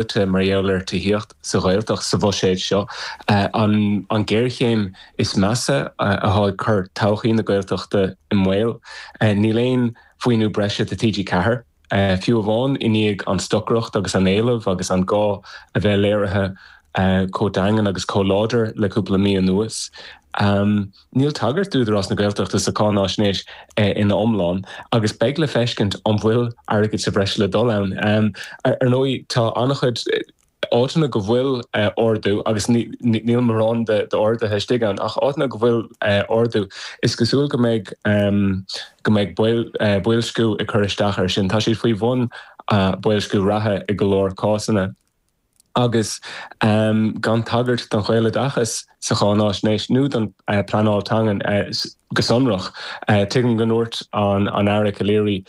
luaite mar gheall ar tithíocht sa Ghaeltacht sa bhuiséad seo. An ghéarchéim is measa atá ag cur todhchaí na Gaeltachta i mbaol. Níl aon mhaoiniú breise do TG4, fiú amháin i ndiaidh an stocaireacht agus an éileamh agus an gá a bheith léirithe chomh daingean agus chomh láidir le cúpla mí anuas. Níl tagairt d'Údarás na Gaeltachta sa cháináisnéis ina iomlán agus beidh le feiscint an bhfuil airgead sa bhreis le dul ann. Ar ndóigh, tá an-chuid áiteanna go bhfuil ardú, agus níl mórán d'arduithe istigh ann, ach áiteanna go bhfuil ardú, is cosúil go mbeidh go mbeidh boilsciú ag cur isteach air sin. Tá siad faoi bhun boilsciú reatha i go leor cásanna. agus gan tagairt don Ghaeloideachas sa cháináisnéis nó don pleanáil teangan go sonrach. Tuigim go ndúirt an Aire Calleary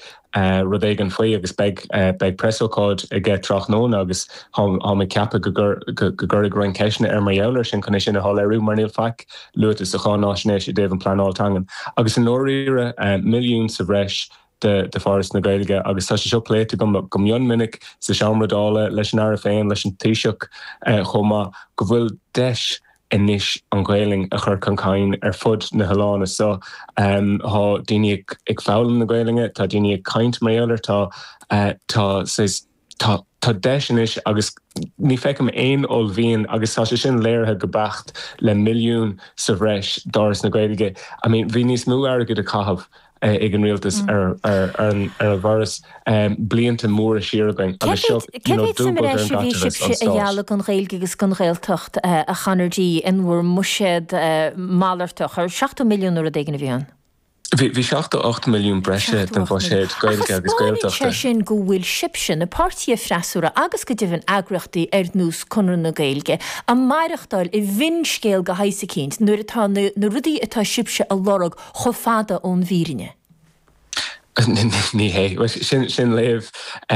rud éigin faoi agus beidh beidh preasócáid aige tráthnóna agus táim ag ceapadh go gcuirfidh roinnt ceisteanna air mar gheall air sin chun é sin a shoiléiriú mar níl faic luaite sa cháináisnéis i dtaobh an pleanáil teangan. Agus i ndáiríre, milliún sa bhreis de Foras na Gaeilge agus tá sé seo pléite agam go mion minic sa Seomra Dála leis an Aire féin, leis an Taoiseach chomh maith, go bhfuil deis anois an Ghaelainn a chur chun cinn ar fud na hoileáin seo. Tá daoine ag foghlaim na Gaelainne, tá daoine ag caint mar gheall air, tá tá saghas tá tá deis anois agus ní feicim aon uaillmhian agus tá sé sin léirithe go beacht le milliún sa bhreis d'Fhoras na Gaeilge. I mean bhí níos mó airgid á chaitheamh ag an rialtas ar ar an ar an bhForas blianta móra siar againn agus seo you know dúbailt ar an gcaiteachas an stáit. a ghealladh don Ghaeilge agus don Ghaeltacht a Chonor D in bhur mbuiséad malartach? Ar 70 milliún nó rud éigin a bhí ann? Bhí 78 milliún breise don bhuiséad Gaeilge agus Gaeltachta. Ach taispeánann sé sin go bhfuil sibhse, na páirtithe freasúra agus go deimhin eagraíochtaí ar nós Conradh na Gaeilge, ag maireachtáil i bhfinscéal de shaghas eicínt nuair atá na rudaí atá sibhse a lorg chomh fada ón bhfírinne. Ní hé. Sin léamh,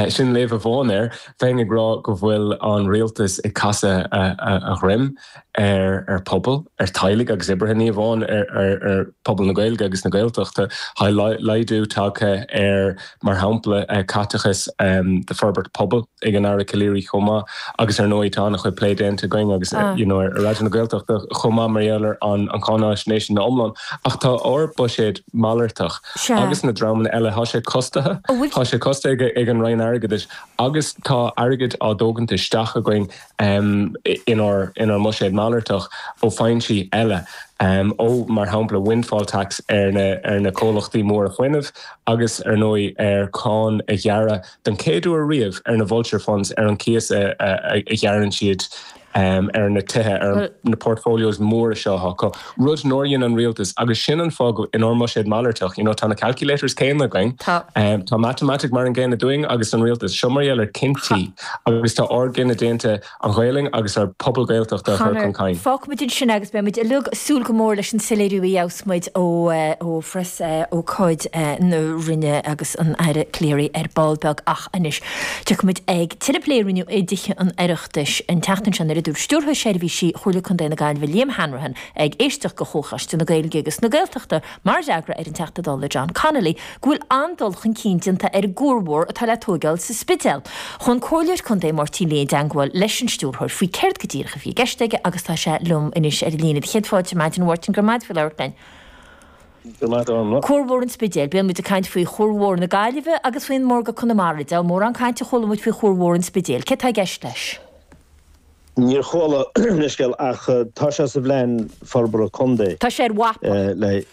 sin léamh amháin air. Bheinn ag rá go bhfuil an rialtas ag casadh a dhroim ar phobal, ar teaghlaigh agus oibrithe, ní amháin ar phobal na Gaeilge agus na Gaeltachta. Tá laghdú tagtha ar, mar shampla, caiteachas do forbairt pobail ag an Aire Calleary chomh maith agus ar ndóigh tá an-chuid plé déanta againn agus you know ar Raidió na Gaeltachta chomh maith mar gheall ar an cháináisnéis ina iomlán. Ach tá ár buiséad malartach agus na dreamanna eile, tá sé costaithe, tá sé costaithe ag an Roinn Airgeadais agus tá airgead á dtógaint isteach againn inár mbuiséad malartach ó foinsí eile, ó, mar shampla, windfall tax ar na comhlachtaí móra fuinnimh agus, ar ndóigh, ar cáin a ghearradh den chéad uair riamh ar na vulture funds, ar an cíos a ghearrann siad ar na tithe, ar na portfolios móra seo atá acu, rud nár dhein an rialtas agus sin an fáth go inár mbuiséad malartach, you know, tá na calculators céanna againn, tá matamaitic mar an gcéanna dúinn agus don rialtas, seo mar gheall ar cinntí agus tá ár gcinneadh déanta an Ghaelainn agus ár pobal Gaeltachta a chur chun cinn. Fágfaimid ansin é agus beidh muid uilig ag súil go mór leis an soiléiriú a gheobhas muid ó ó phreas ócáid na Roinne agus an Aire Calleary ar ball beag ach anois tiocfaimid ag tuilleadh plé a rinneadh i dTithe an Oireachtais an tseachtain seo nuair a dúirt Stiúrthóir Seirbhísí Chomhairle Contae na Gaillimhe Liam Hanrahan ag éisteacht do Chomhchoiste na Gaeilge agus na Gaeltachta mar fhreagra ar an Teachta Dála John Connolly go bhfuil an-dul chun cinn déanta ar an gcuar mhór atá le tóigeáil sa Spidéal. Chuaigh an Comhairleoir Contae Máirtín Lee i dteangmháil leis an Stiúrthóir faoi céard go díreach a bhí i gceist aige agus tá sé liom anois ar an líne. Do chéad fáilte ar maidin a Mháirtín, go raibh maith agat faoi labhairt linn. Go raibh maith agat. Cuar Mhór an Spidéil. Bíonn muid ag caint faoi Chuar Mhór na Gaillimhe agus faoin Margadh Conamara. Deabhal mórán cainte a chuala muid faoi Chuar Mhór an Spidéil. Céard tá i gceist leis? Níor chuala leithscéal ach tá sé sa phlean forbartha contae. Tá sé ar mhapa.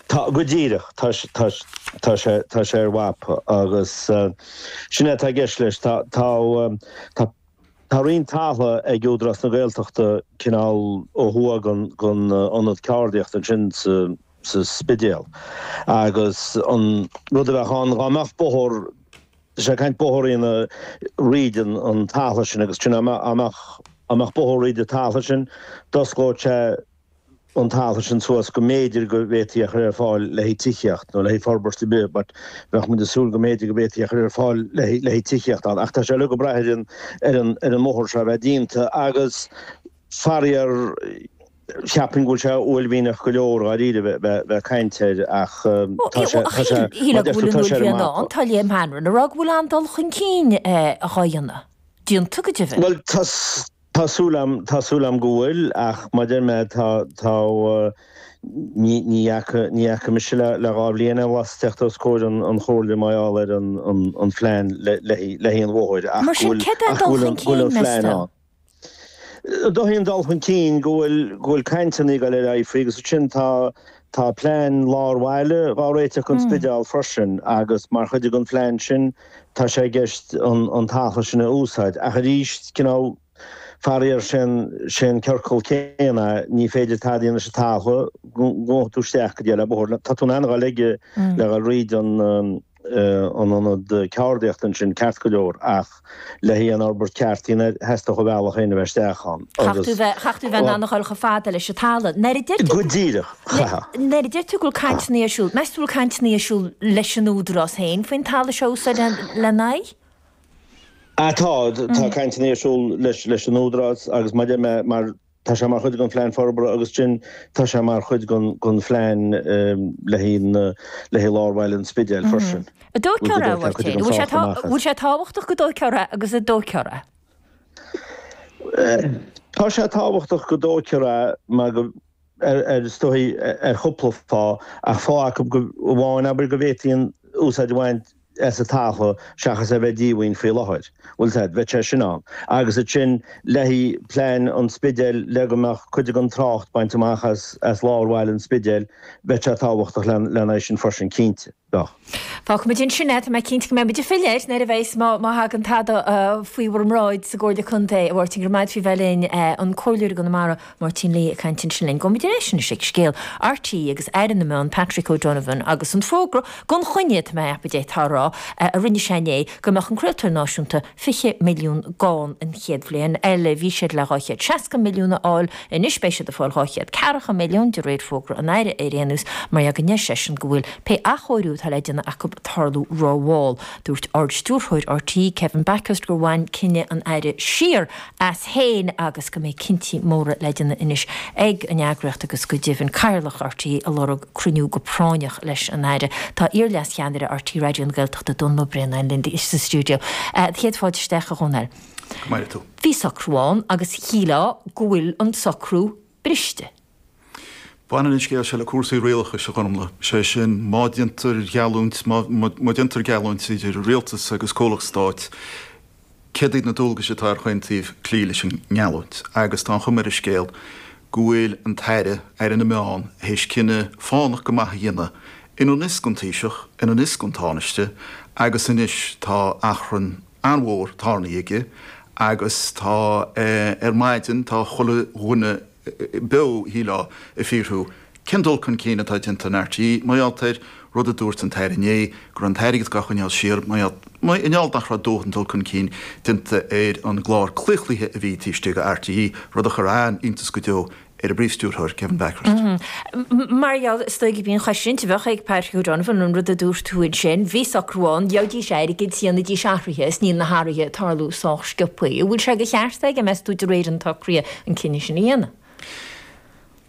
Tá, go díreach, tá, tá, tá sé, tá sé ar mhapa agus sin é atá i gceist leis. Tá, tá, tá, tá roinnt talamh ag Údarás na Gaeltachta cineál ó thuaidh den, den ionad ceardaíochta ansin sa, sa Spidéal agus an rud a bheadh ann dhá mbeadh bóthar, tá sé ag caint bóthar a dhéanamh fríd an, an talamh sin agus sin dá mbeadh, dá mbeadh, dá mbeadh bóthar fríd an talamh sin d'osclódh sé an talamh sin suas go mb'fhéidir go bhféadfaí a chur ar fáil le haghaidh tithíocht nó le haghaidh forbairt ar bith but bheadh muid ag súil go mb'fhéidir go bhféadfaí a chur ar fáil le haghaidh le haghaidh tithíocht ann ach tá sé uilig ag brath ar an ar an ar an mbóthar seo a bheith déanta agus faraor cheapfainn go bhfuil sé uaillmhianach go leor dháiríre bheith bheith bheith ag caint air ach tá sé tá sé Shílfeá go bhfuil an uaillmhian ann, tá Liam Hanrahan ag rá go bhfuil an-dul chun cinn á dhéanamh. déanta go deimhin. Bhuel, tá, tá súil a'm, tá súil a'm go bhfuil ach mar a deir mé tá, tá, ní, ní fhaca, ní fhaca mise le, le 2 bhliain anuas teacht os comhair an, an chomhairle mar gheall ar an, an, an phlean le, le, le haghaidh an bhóthair ach Mar go sin, bhfuil, céard é an ach go dul bhfuil chun an, go bhfuil cinn, an meas phlean tú? ann. Dóichí an dul chun cinn go bhfuil, go bhfuil cainteanna ag dul ar aghaidh faoi agus ansin tá, tá plean lár bhaile dhá réiteach don Spidéal freisin agus mar chuid den phlean sin tá sé i gceist an, an talamh sin a úsáid. Ach arís, cineál, faraor, sé'n, sé'n ciorcal céanna, ní féidir tada a dhéanamh leis an talamh go ngabhfaidh tú isteach go dtí é le bóthar. Tá tú in ann a dhul aige le dhul fríd an, an ionad ceardaíochta ansin ceart go leor ach le haghaidh an fhorbairt ceart a dhéanamh air theastódh an bealach féin a bheith isteach ann agus. Chaithfeadh tú a bheith in ann a dhul chomh fada leis an talamh. Nuair a deir tú Go díreach, chaithfeadh. Nuair a deir tú go bhfuil cainteanna ar siúl, meas tú go bhfuil cainteanna ar siúl leis an Údarás féin faoin talamh seo a úsáid lena aghaidh? Ah tá, tá cainteanna ar siúl leis an Údarás agus mar a deir mé mar Tá sé mar chuid den phlean forbartha agus sin tá sé mar chuid den phlean le haghaidh lár bhaile an Spidéil freisin. An dtógfar é, a Mháirtín? Bhfuil sé tábhachtach go dtógfar é agus an dtógfar é? Tá sé tábhachtach go dtógfar é mar go ar is dóigh ar chúpla fáth ach fáth acu amháin abair go bhféadfaí an úsáid a bhaint as an talamh seachas é bheith díomhaoin faoi láthair. Bhfuil a fhios a'd, bheadh sé sin ann. Agus ansin le haghaidh plean an Spidéil le go mbeadh cuid den trácht bainte amach as as lár bhaile an Spidéil, bheadh sé tábhachtach lena aghaidh sin freisin, cinnte. Bheadh. Fágfaimid ansin é, tá mé cinnte go mbeidh muid ag filleadh air nuair a bheas, má má thagann tada faoi bhur mbráid sa gComhairle Contae. A Mháirtín, go raibh maith agat faoi bheith linn, an Comhairleoir i gConamara, Máirtín Lee ag caint ansin linn. Gabhfaimid ar ais anois ag scéal RTÉ agus Aire na Meán Patrick O'Donovan agus an fógra gan choinne, tá mé a cheapadh d'fhéadfá a rá, a rinne sé inné go mbeadh an craoltóir náisiúnta 20 milliún gann an chéad bhliain eile. Bhí siad le 260 milliún a fháil, anois beidh siad ag fáil 240 milliún, de réir fógra an Aire ar aon nós, mar go ndeir seisean go bhfuil pé athchóiriú atá le déanamh acu ag tarlú rómhall. Dúirt Ard-Stiúrthóir RTÉ Kevin Bakhurst gur bhain cinneadh an Aire siar as féin agus go mbeidh cinntí móra le déanamh anois ag an eagraíocht agus go deimhin Cathaoirleach RTÉ ag lorg cruinniú go práinneach leis an Aire. Tá iar-leascheannaire RTÉ Raidió na Gaeltachta, Dónall Ó Braonáin linn sa stiúideo. Céad fáilte isteach a Dhónaill. Go maire tú. Bhí socrú ann agus shílfeá go bhfuil an socrú briste. Baineann an scéal seo le cúrsaí rialachais, a Ghormlaith. Sé sin, má déantar geallúint, má déantar geallúint idir rialtas agus comhlacht stáit, céard iad na dualgais atá ar chaon taobh cloí leis an ngeallúint? Agus tá an chuma ar an scéal go bhfuil an tAire, Aire na Meán, théis cinneadh fánach go maith a dhéanamh i ngan fhios don Taoiseach, i ngan fhios don Tánaiste agus anois tá achrann an-mhór tarraingthe aige agus tá ar maidin tá chuile dhuine beo, shílfeá, ag fiafraí cén dul chun cinn atá déanta in RTÉ mar gheall ar rud a dúirt an tAire inné, go raibh an t-airgead á choinneáil siar mar gheall nach raibh dóthain dul chun cinn déanta ar an gclár claochlaithe a bhí taobh istigh de RTÉ, rud a chuir an-iontas go deo ar an bPríomh-Stiúrthóir, Kevin Bakhurst. Mar gheall, is dóigh, gurb í an cheist a bheadh ag Patrick O'Donovan, an rud a dúirt tú ansin, bhí socrú ann, gheobhaidís airgead, dhéanfaidís athruithe, is níl na hathruithe ag tarlú sách sciobtha. An bhfuil sé de cheart aige, meas tú, de réir an tsocraithe, an cinneadh sin a dhéanamh?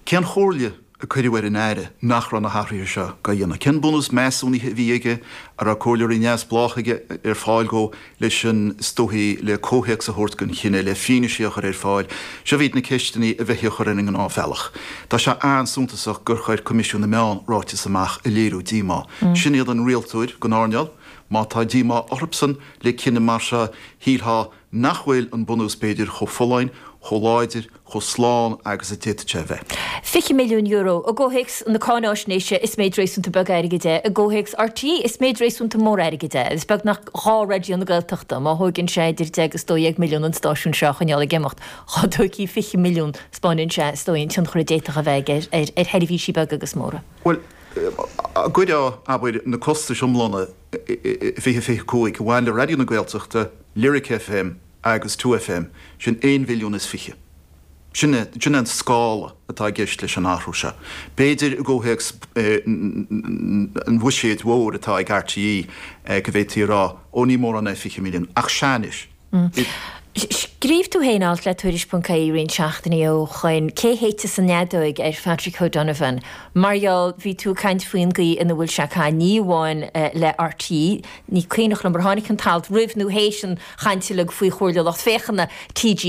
Cén chomhairle a cuireadh ar an Aire nach raibh na hathruithe seo dhá dhéanamh? Cén bunús measúnaithe a bhí aige? An raibh comhairleoirí neamhspleácha aige ar fáil dhó leis an, is dóichí, le comhthéacs a thabhairt don chinneadh, le fianaise a chur ar fáil? Seo iad na ceisteanna a bheifí a chur ar an ngnáthbhealach. Tá sé an-suntasach gur chuir Coimisiún na Meán ráiteas amach ag léiriú díomá. Sin iad an rialtóir den earnáil. Má tá díomá orthubsan le cinneadh mar seo, shílfeá nach bhfuil an bunús b'fhéidir chomh folláin, chomh láidir, chomh slán agus a d'fhéadfadh sé a bheith. €20 milliún. I gcomhthéacs na cáináisnéise, is méid réasúnta beag airgid é. I gcomhthéacs RTÉ, is méid réasúnta mór airgid é. Is beagnach 2 Raidió na Gaeltachta. Má thóigeann sé idir 10 agus 12 milliún an stáisiún seo a choinneáil ag imeacht, dhá dtóigfí 20 milliún, 'spáineann sé, is dóigh, an tionchar a d'fhéadfadh a bheith aige ar sheirbhísí beaga agus móra. Bhuel, cuirfeá, abair, na costais iomlána i 2025 a bhain le Raidió na Gaeltachta, Lyric FM agus 2FM, sin aon mhilliún is fiche. Sin é, sin é an scála atá i gceist leis an athrú seo. B'fhéidir i gcomhthéacs an bhuiséid mhóir atá ag RTÉ go bhféadfaí a rá, ó ní mórán é 20 milliún, ach sea anois. Scríobh tú féin alt le Tuairisc.ie roinnt seachtainí ó shoin, Cé shéidfeas an fheadóig ar Phatrick O'Donovan? Mar gheall, bhí tú ag caint faoin gcaoi ina bhfuil sé ag caitheamh, ní amháin le RTÉ, ní cuimhneach liom ar tháinig an t-alt roimh nó théis an chaint uilig faoi Chomhairle Lucht Féachana TG.